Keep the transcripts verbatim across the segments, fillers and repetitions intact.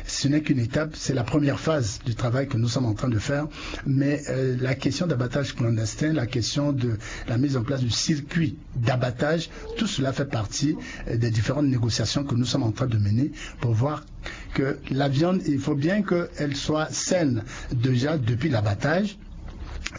Ce n'est qu'une étape, c'est la première phase du travail que nous sommes en train de faire, mais euh, la question d'abattage clandestin, la question de la mise en place du circuit d'abattage, tout cela fait partie euh, des différentes négociations que nous sommes en train de mener pour voir que la viande, il faut bien qu'elle soit saine déjà depuis l'abattage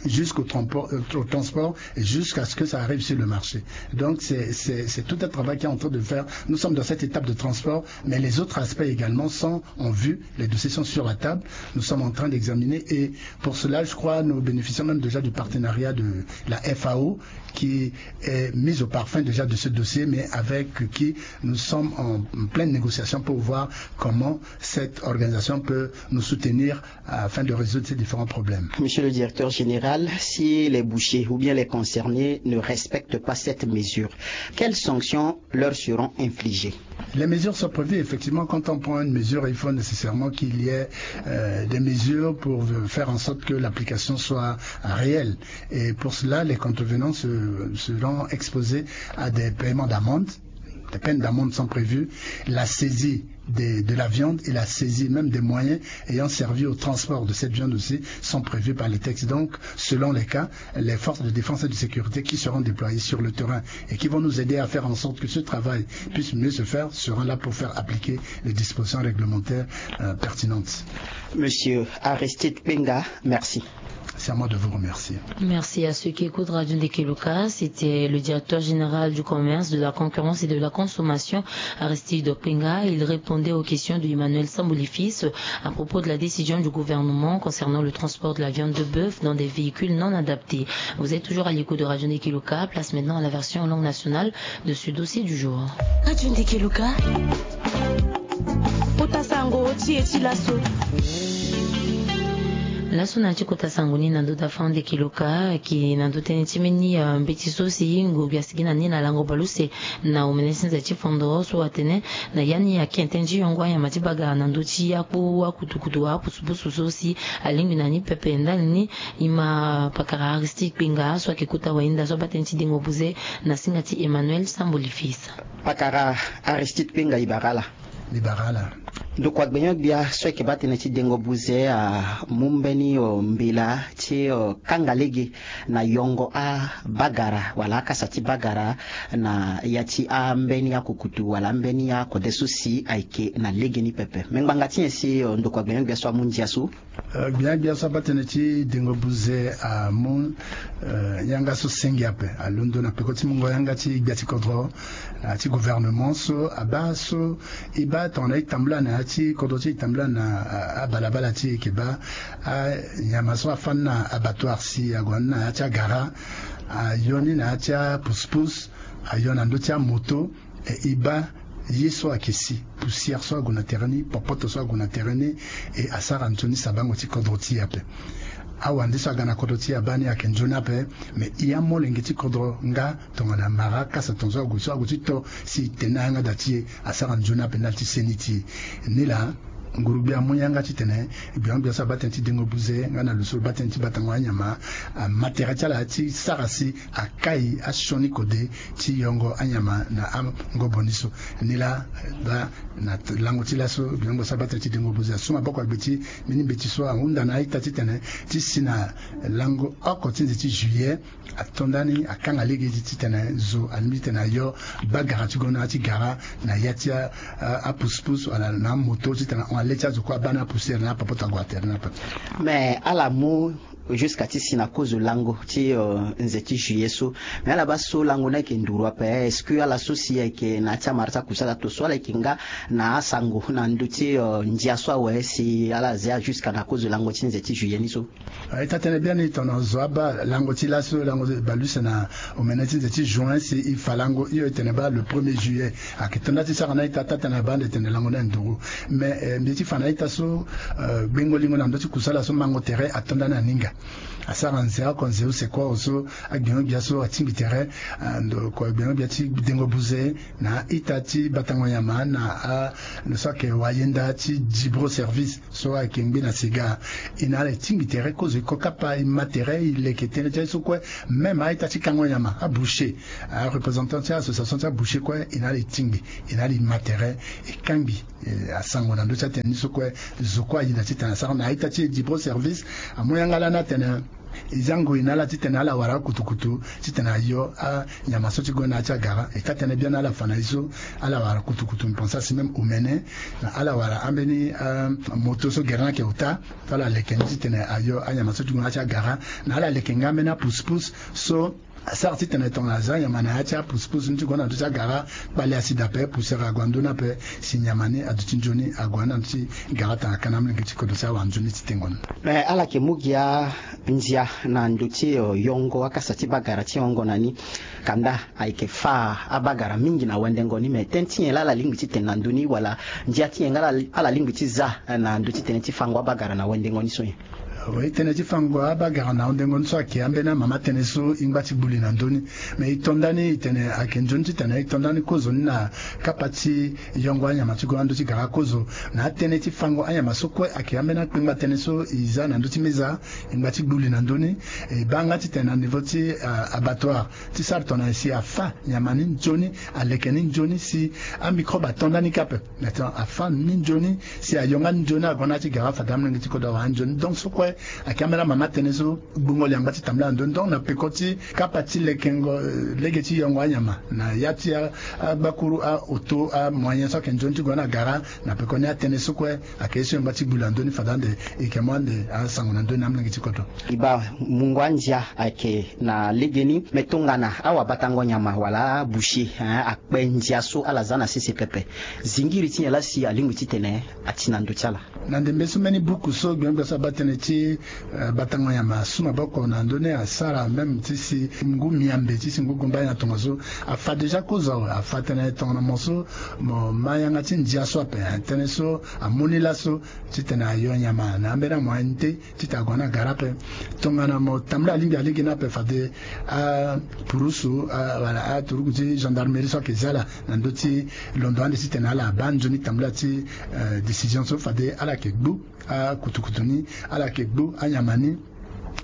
jusqu'au transport, euh, au transport et jusqu'à ce que ça arrive sur le marché. Donc c'est tout un travail qui est en train de faire. Nous sommes dans cette étape de transport, mais les autres aspects également sont en vue. Les dossiers sont sur la table. Nous sommes en train d'examiner et pour cela, je crois, nous bénéficions même déjà du partenariat de la F A O qui est mise au parfum déjà de ce dossier, mais avec qui nous sommes en pleine négociation pour voir comment cette organisation peut nous soutenir afin de résoudre ces différents problèmes. Monsieur le directeur général, si les bouchers ou bien les concernés ne respectent pas cette mesure, quelles sanctions leur seront infligées ? Les mesures sont prévues. Effectivement, quand on prend une mesure, il faut nécessairement qu'il y ait euh, des mesures pour faire en sorte que l'application soit réelle. Et pour cela, les contrevenants se, seront exposés à des paiements d'amende. Des peines d'amende sont prévues. La saisie des, de la viande et la saisie même des moyens ayant servi au transport de cette viande aussi sont prévus par les textes. Donc, selon les cas, les forces de défense et de sécurité qui seront déployées sur le terrain et qui vont nous aider à faire en sorte que ce travail puisse mieux se faire seront là pour faire appliquer les dispositions réglementaires euh, pertinentes. Monsieur Aristide Kpenga, merci. C'est à moi de vous remercier. Merci à ceux qui écoutent Radio Ndekeluka. C'était le directeur général du commerce, de la concurrence et de la consommation, Aristide Kpenga. Il répondait aux questions de Emmanuel Samboulifis à propos de la décision du gouvernement concernant le transport de la viande de bœuf dans des véhicules non adaptés. Vous êtes toujours à l'écoute de Radio Ndekeluka. Place maintenant à la version en langue nationale de ce dossier du jour. Radio Ndekeluka. Kota sango ti e ti laso. Laso na ya ti kota sango ni na ndö da fande kiloka ayeke na ndö tënë ti mbeni mbeti so si nguru gbia asigi na ni na lango baleuse na omene ti nze ti fondoro so atene na ya ni ayeke tënë ti yongo anyama ti bagara na ndö ti akpu akutukutu wala apusupusu so si alingbi na ni pepe ndali ni e ma pakara Aristide Kpenga so ayeke kota wahinda so abaa tënë ti dengo buze na singa ti Emmanuel Sambo Lifis. Pakara Aristide Kpenga e bara ala. Ni bara ala. Ndokua gbenyo-gbia so ayeke baa tënë ti dengo buze amu mbeni mbela ti kanga lege na yongo abagara wala akasa ti bagara na ya ti ambeni akukutu wala ambeni akode so si ayeke na legeni pepe. Me ngbanga ti nyen si ndokua gbenyo-gbia so amu ndia so? Gbia gbia so abaa tënë ti dengo buze amu yanga so senge ape alondo na peko ti mungo yanga ti gbia ti kodro na ya ti gouvernement so abaa so e baa tongana e tambula na ya ti kodro ti e tambula na abalabala ti e yeke baa anyama so afani na abattoir si ague na ni na ya ti agara ayo ni na ya ti apusupusu ayo na ndö ti amoto. E e baa ye so ayeke si poussière so ague na tere ni popoto so ague na tere ni e asara nzoni sabango ti kodro ti e ape. Awande so aga na kodro ti e abaa ni ayeke nzoni ape. Me e amolenge ti kodro nga tongana mara akasa tongaso ague so ague ti to si e tene na yanga da ti e asara nzoni ape ndali ti seni ti e. Nilaa nguru-gbia amu yanga titene gbia gbia so abaa tënë ti dengo buze nga na lo so lo baa tënë ti batango anyama ama tere ti ala ti sara si akai asioni kode ti yongo anyama na angobo ni so. Nilaa baa na lango ti laso gbia gbia so abaa tënë ti dengo buze asu maboko agbe ti mbeni mbeti so ahunda na a-ita titene ti si na lango oko ti nze ti juillet ato ndani akanga lege ti titene zo alingbi titene ayo bagara ti gue na ya ti gara na ya ti apusupusu wala na amoto titene ahon ale ti azo kue abaa na apoussière na apopoto ague na tere ni ape. Me ala mu jusqu'à ti si na kozo lango ti nze ti juillet so. Me ala baa so lango ni ayeke nduru ape? Est-ce que ala so si ayeke na ya ti amara ti akusala to so ala yeke nga na asango na ndö ti ndia so awe si ala zia jusqu'à na kozo lango ti nze ti juillet ni so? E ta tene biani tongana zo abaa lango ti laso lango baleuse na omene ti nze ti juin si e fa lango hio e tene baa le premier juillet. Ayeke to nda ti sara na ita ata tene abaa ande tene lango ni anduru. Me mbi ye ti fa na ita so gbengo lingo na ndö ti kusala so mango tere ato nda ni aninga. Asara nze oko nze use kue so agbengo-gbia so atingbi tere, ah, ndo kue agbengo-gbia ti dengo buze na a-ita ti batango nyama na a, ndo so ayeke wayenda ti dibro service so ayeke ngbe na sega. E na ala e tingbi tere kozo e ko kapa e ma tere e leke tënë ti aye so kue. Même a-ita ti kango nyama, aboucher, areprésentant ti association ti aboucher kue, e na ala e tingbi, e na ala e ma tere, e kangbi, eh, asango na ndö ti atënë ni so kue. Zo kue ayeda titene asara na a-ita ti e dibro service. Amu yanga lani atene e za ngoi na ala titene ala wara akutukutu titene ayo anyama so ti gue na ya ti agara. E ka tënë biani ala fa na e so, ala wara kutukutu, mbi pense asi même omene, na ala wara ambeni, ah, moto so gere ni ayeke ota, so ala leke ni titene ayo anyama so ti gue na ya ti agara. Na ala leke nga ambeni apousse-pousse so asara titene tongana aza nyama na ya ti apousse-pousse ni ti gue na ndö ti agara, kpale asi daa ape, poussière ague na ndö ni ape, si nyama ni aduti nzoni ague na ndö ti gara tongana ka na amolenge ti kodro si awara nzoni ti tengo ni. Mais ala yeke mu gi andia na ndö ti, eh, yongo akasa ti bagara ti yongo na ni. Kanda ayeke fâ abagara mingi na wendengo ni, mais tënë ti nyen laa ala lingbi titene na ndö ni, wala ndia ti nyen nga ala, ala lingbi ti za, eh, na ndö ti tënë ti fango abagara na wendengo ni so nyen? Oui, tënë ti fango abagara na wendengo ni so ayeke ambeni amama tënë so e ngba ti gbu li na ndö ni. Mais e to ndani e tene ayeke nzoni titene e to ndani kozo ni na kapa ti yongo anyama ti gue na ndö ti gara kozo. Na atënë ti fango anyama so kue ayeke ambeni akpengba tënë so e za na ndö ti meza, e ngba ti gbu li na ndö ni. E baa nga titene na niveau ti, ah, abattoir, ti sara tongana nyen si afâ nyama ni nzoni, aleke ni nzoni si amicrobe ato ndani kâ ape. Maintenant afâ ni nzoni, si ayo nga ni nzoni ague na ya ti gara, fade amolenge ti kodro awara ni nzoni. Donc so kue ayeke ambeni amama tënë so gbungo li angba ti tambula na ndö ni. Donc na peko ti kapa ti lekengo, eh, lege ti yongo anyama na ya ti a, agbakuru, aoto, amoyen so ayeke nzoni ti gue na gara, na peko ni atënë so kue ayeke ye so e ngba ti gbu li na ndö ni, fade ande e yeke mu ande asango na ndö ni amolenge ti kodro. E baa mungo andia ayeke na legeni, me tongana awabatango nyama wala aboucher, hein, akpe ndia so ala za na sese pepe, zingiri ti nyen laa si alingbi titene ati na ndö ti ala? Na ndembe so mbeni buku so gbengbia so abaa tënë ti, eh, batango nyama asu maboko na ndö ni, asara même ti si ngu miambe, ti si ngu gumba na tongaso, afa déjà kozo awe, afa tënë tongana mo so mo ma yanga ti ndia so ape, eh, tënë so amu ni laso titene ayo nyama na ambeni amoyen ni te titene ague na gara ape. Tongana mo tambula alingbi alege ni ape, fade apurusu, a, wala aturuku ti gendarmerie so ayeke zia ala na ndö ti londo ande titene ala baa nzoni tambula ti, eh, décision so, fade ala yeke gbu akutukutu ni, ala yeke gbu anyama ni.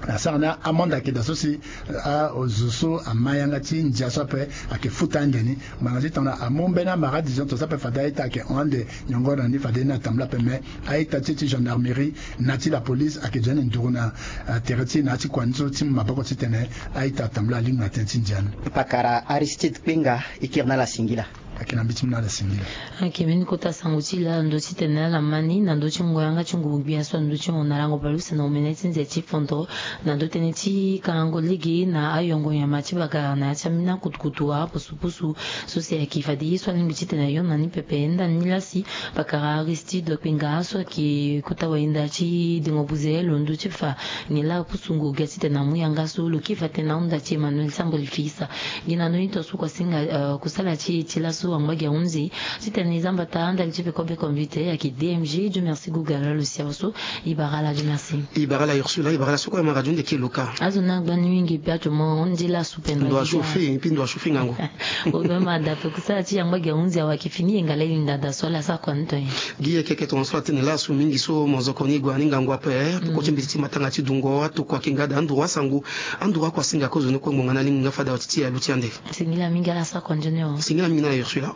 Na sara ni amande ayeke daa so si, eh, a, zo so ama yanga ti ndia so ape ayeke futa ande ni. Ngbanga ti tongana amu mbeni amara décision to so ape, fade a-ita ayeke hon ande nyongo na ni, fade ni atambula ape. Mais a-ita ti e ti gendarmerie na ti la police ayeke zo ni nduru na, eh, tere ti e na ya ti kua ni so ti mu maboko titene a-ita atambula alingbi na tënë ti ndia ni. Pakara Aristide Kpenga, e kiri na ala singila. Ayeke na mbeti ni na ala singila. Ayeke mbeni kota sango ti e laa na ndö ti tene ala ma ni na ndö ti ngonga yanga ti ngurugbia so na ndö ti hondalango baleuse na omene ti nze ti fondo, na ndö tënë ti kangango lege na ayongo nyama ti bagara na ya ti ambeni akutukutu, apusupusu, so si ayeke fade ye so alingbi titene ayo na ni pepe. Ndani ni laa si pakara Aristide Kpenga so ayeke kota wayenda ti dengo buze londo ti fa nyen laa apusu ngurugbia titene amu yanga so. Lo kiri fa tënë na ahunda ti Emmanuel Samboli Fils. Gi na ndö ni tongaso kua singa, eh, kusala ti e ti laso angba gi ahunzi titene e za mbata ndali ti peko be computer ayeke D M G. Dieu merci Google, lo si awe so. E bara ala, Dieu merci. E bara ala Ursula, e bara ala so kue ama radio nde ke lo ka. Azo ni angba ni mingi, bia ti mo nde laso. Ndo achauffe, et puis ndo achauffe ngangu. Obe ma da pe kusala ti angba gi ahunzi awe ayeke fini, e ngala e linda da so ala sara kua ni to nyen? Gi ye keke tongaso atene laso mingi so mo zoko ni e gue na ni ngangu ape, eh, peko ti mbeti ti matanga ti dungo, atokua ayeke nga da, anduru asango, anduru akua singa kozo ni kue ngbonga ni alingbi nga fade awe ti ti aluti ande. Singila mingi, ala sara kua nzoni o. Singila mingi na Ursula.